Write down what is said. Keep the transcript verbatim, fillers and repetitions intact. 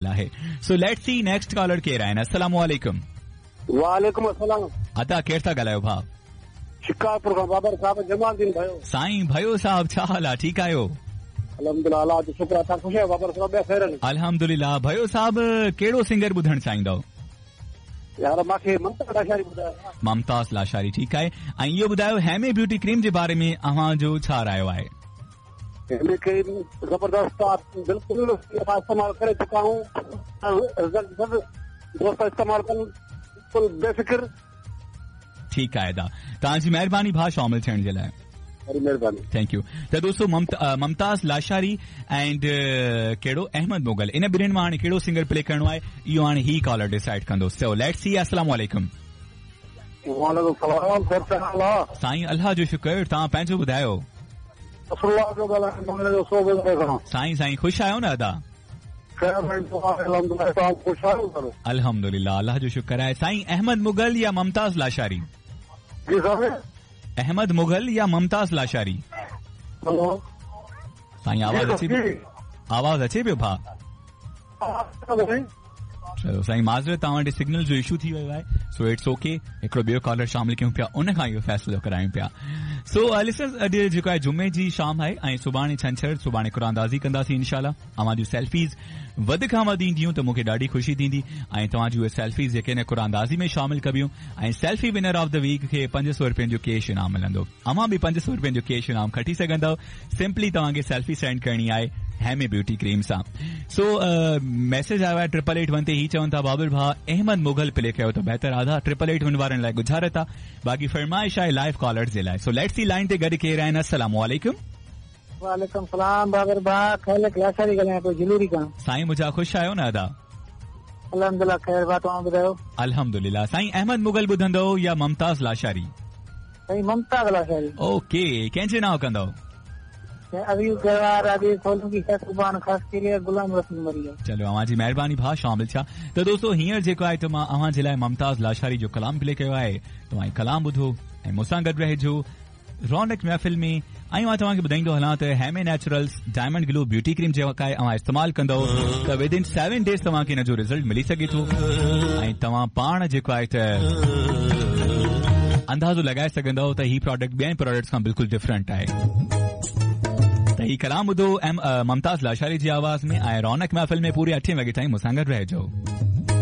आहे। So let's see next caller केरु आहिनि। अस्सलाम वालेकुम। वालेकुम अस्सलाम। अदा केरु था ॻाल्हायो भाउ? शिकारपुर खां बाबर साहब जमालदीन भयो। साईं भयो साहब छा हाल आहे? ठीकु आहियो? अल्हम्दुलिल्लाह, अल्लाह जो शुक्र आहे। तव्हां ख़ुशि आहियो बाबर साहब? ॿिया ख़ैर आहिनि? अल्हम्दुलिल्लाह। भयो साहब कहिड़ो सिंगर ॿुधणु चाहींदव? यार मूंखे ममताज़ लाशारी ॿुधायो। ममताज़ लाशारी ठीकु आहे। ऐं इहो ॿुधायो हेमे ब्यूटी क्रीम जे बारे में अव्हां जो छा रायो आहे? हेमे क्रीम ज़बरदस्त आहे, बिल्कुलु असां इस्तेमालु करे चुका आहियूं, रिज़ल्ट सभु दोस्त इस्तेमालु कनि, बिल्कुलु बेफ़िक्र। ठीकु आहे दा, तव्हांजी महिरबानी भाउ शामिल थियण जे लाइ। बड़ी मेहरबानी, thank you. त दोस्तो ममताज़ लाशारी एंड कहिड़ो अहमद मुगल, इन ॿिन्हिनि मां हाणे कहिड़ो सिंगर प्ले करिणो आहे इहो हाणे ही कॉलर डिसाइड कंदो। सो let's see. अस्सलाम वालेकुम। वालेकुम सलाम। सर छा हाल आहे? साईं अल्लाह जो शुक्र, तव्हां पंहिंजो ॿुधायो। साईं साईं ख़ुशि आहियो न अदा? अल्हम्दुलिल्लाह, अल्लाह जो शुक्र आहे। साईं अहमद मुगल या ममताज़ लाशारी? जी साहब। अहमद मुगल या ममताज़ लाशारी? साईं आवाज़ अचे पियो, आवाज़ अचे पियो भाउ? चलो साईं माज़रत, तव्हां वटि सिग्नल जो इशू थी वियो आहे, सो it's okay. हिकिड़ो ॿियो कॉलर शामिल कयूं पिया, उन खां इहो फ़ैसिलो करायूं पिया। सो लिसनर्स, अॼु जेको आहे जुमे जी शाम आहे ऐं सुभाणे छंछर, सुभाणे कुरानदाज़ी कंदासीं इंशाअल्लाह। अव्हां जूं सेल्फीज़ वधि खां वधि ईंदियूं त मूंखे ॾाढी ख़ुशी थींदी ऐं तव्हां जूं उहे सेल्फीज़ जेके आहिनि कुरानदाज़ी में शामिल कबियूं ऐं selfie winner of the week खे पंज सौ रुपयनि जो कैश इनाम मिलंदो। अव्हां बि पंज सौ रुपयनि जो कैश इनाम खटी सघंदव। सिंपली तव्हांखे सेल्फी सेंड करणी आहे हेमे ब्यूटी क्रीम सां। सो मैसेज आयो आहे ट्रिपल एट वन ते, ही चवनि था बाबुर भाउ अहमद मुगल प्ले कयो त बहितर आहे। ट्रिपल एट वन वारनि लाइ गुज़ारत आहे, बाक़ी फरमाइश आहे लाइव कॉलर्स जे लाइ। सो let's see line ते गॾु केरु आहिनि। अस्सलाम वालेकुम। वालेकुम सलाम बाबर भाउ, खैर लाशारी ॻाल्हायां पियो जलूरी खां। साईं मुंहिंजा ख़ुशि आहियो न अदा? अल्हम्दुलिल्लाह खैर भाउ, तव्हां ॿुधायो? अल्हम्दुलिल्लाह। साईं अहमद मुगल ॿुधंदव या ममताज़ लाशारी? साईं ममताज़ लाशारी। ओके, कंहिंजे नांव कंदव? चलो अव्हां जी महिरबानी भाउ शामिल थिया। त दोस्तो हींअर जेको आहे त मां अव्हां जे लाइ ममताज़ लाशारी जो कलाम प्ले कयो आहे, तव्हां कलाम ॿुधो ऐं मूंसां गॾु रहिजो रौनक महफ़िल में। ऐं मां तव्हांखे ॿुधाईंदो हलां त Heme naturals diamond glow beauty cream जेका आहे अव्हां इस्तेमालु कंदव त विद इन सेवन डेज़ तव्हांखे हिन जो रिज़ल्ट मिली सघे थो ऐं तव्हां पाण जेको आहे त अंदाज़ो लॻाए सघंदव त ही प्रोडक्ट ॿियनि प्रोडक्ट्स खां बिल्कुलु डिफरेंट आहे। त ही कलाम ॿुधो ऐं ममताज़ लाशारी जी आवाज़ में ऐं रौनक महफ़िल में पूरे अठे वॻे ताईं मूंसां गॾु रहिजो।